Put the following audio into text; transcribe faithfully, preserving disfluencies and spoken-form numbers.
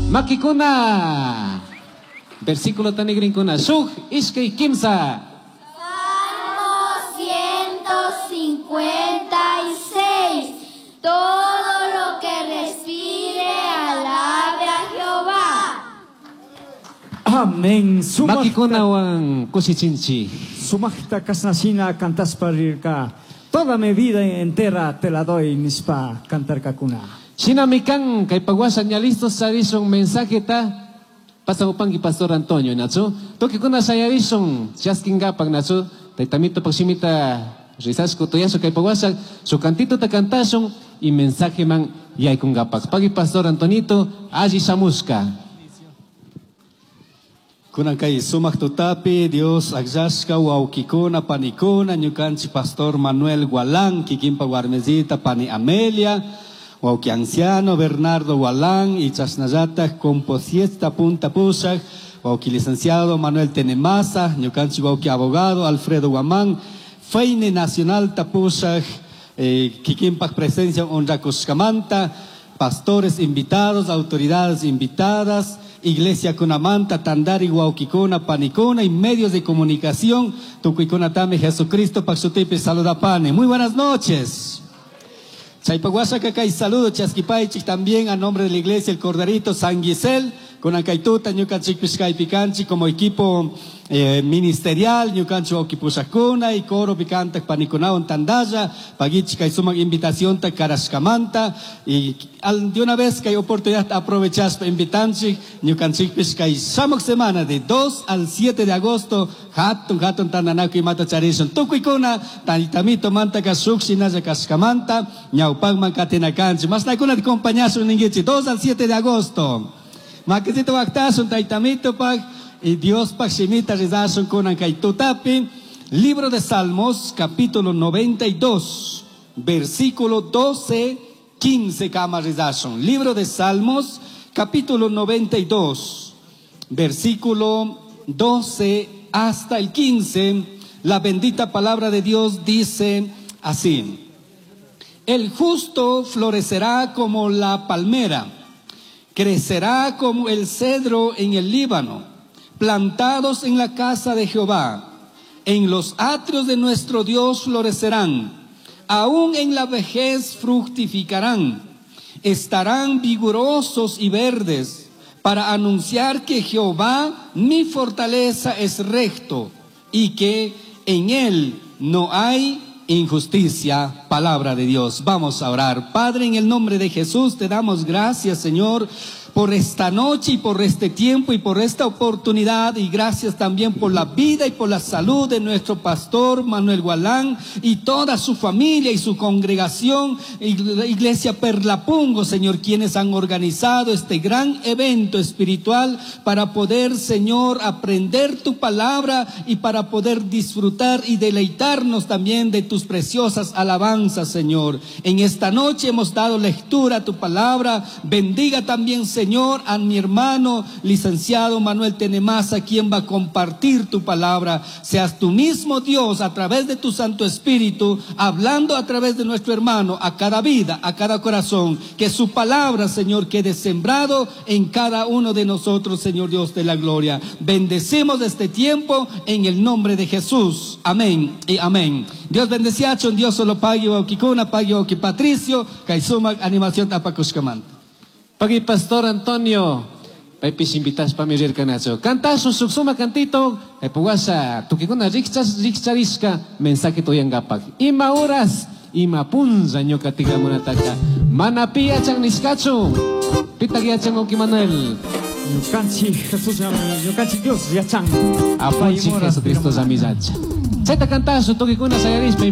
Makikuna. Versículo tanigrinkuna. Shuk, ishkay, kimsa. Salmo ciento cincuenta y seis. Todo lo que respire, alabe a Jehová. Amén. Sumajta, Makikunawan kushichinchik. Sumajta kasnashina cantaspa rirka. Toda mi vida entera te la doy, nispa cantarkakuna. Shinami kan, kay paguasha ña listos charishun mensajeta. Pasamupanki Pastor Antonio, nachu. Tukikuna shayarishun, chaskingapak, nachu. Taytamito pak shimita rizashku tuyashu kay paguasha, su cantito ta cantashun y mensaje man yaykungapak. Pagui Pastor Antonito, alli shamushka. Kunan kay sumak tutapi Dios akllashka wawkikuna panikuna ñukanchik Pastor Manuel Gualán kikinpa warmezita pani Amelia wawki anciano Bernardo Gualán y chashnallata composiesta punta pushak wawki licenciado Manuel Tenemaza ñukanchik wawki abogado Alfredo Guamán Feine Nacional tapushak eh, kikinpak presencia honrakushkamanta pastores invitados, autoridades invitadas, Iglesia Kunamanta, Tandari, Wawkikuna, Panikuna y medios de comunicación, Tukuikunatami, Jesucristo, pak shutipi, saludapani. Muy buenas noches. Chaypaguasha y saludo chaskipaychik también a nombre de la iglesia El Corderito San Gisel, con Acaituta, ñukanchikpish kaypi como equipo eh, ministerial, ñukanchik wawkipushakuna y coro picantak panikunawan tandalla, paguichik kay sumak invitación ta karashkamanta y al, de una vez que hay oportunidad aprovechaspa invitanchik, ñukanchikpish kay shamuk semana de dos al siete de agosto, hatun hatun tandanakuy imata charishun, tukuykuna, taytamito mantaka shuk shinalla kashkamanta, ñawpakman katinakanchik, mashnakuna acompañashun ninguichik, dos al siete de agosto. Makisito waktasun taytamito pak y Dios pak shimita rizashun kunan kay tutapi. Libro de Salmos, capítulo noventa y dos, versículo doce, quince kama rizashun. Libro de Salmos, capítulo noventa y dos, versículo doce hasta el quince. La bendita palabra de Dios dice así: El justo florecerá como la palmera, crecerá como el cedro en el Líbano, plantados en la casa de Jehová, en los atrios de nuestro Dios florecerán, aún en la vejez fructificarán, estarán vigorosos y verdes, para anunciar que Jehová, mi fortaleza, es recto y que en él no hay injusticia. Palabra de Dios. Vamos a orar. Padre, en el nombre de Jesús te damos gracias, Señor, por esta noche y por este tiempo y por esta oportunidad y gracias también por la vida y por la salud de nuestro pastor Manuel Gualán y toda su familia y su congregación, Iglesia Perlapungo, Señor, quienes han organizado este gran evento espiritual para poder, Señor, aprender tu palabra y para poder disfrutar y deleitarnos también de tus preciosas alabanzas, Señor. En esta noche hemos dado lectura a tu palabra. Bendiga también, Señor, a mi hermano licenciado Manuel Tenemaza, quien va a compartir tu palabra. Seas tú mismo, Dios, a través de tu Santo Espíritu, hablando a través de nuestro hermano a cada vida, a cada corazón. Que su palabra, Señor, quede sembrado en cada uno de nosotros, Señor Dios de la gloria. Bendecimos este tiempo en el nombre de Jesús. Amén y amén. Dios bendeciachun, Dios solo pagui wawkikuna, pagui wawki Patricio, kay sumak animación apakushkamanta. Pagui Pastor Antonio, paypish invitashpami rirkanachu. Cantashun shuk suma cantito, puwasha tukikuna rikcharishka mensaje uyangapak. Ima horas, ima punlla ñuka tikramunataka. Mana pi yachan nishkachu. Pitak yachan, wawki Manuel? Ñukanchik Jesús, ñukanchik Dios yachan. Apunchik Jesucristo llami yachan. Chayta cantashun tukikuna shayarishpa.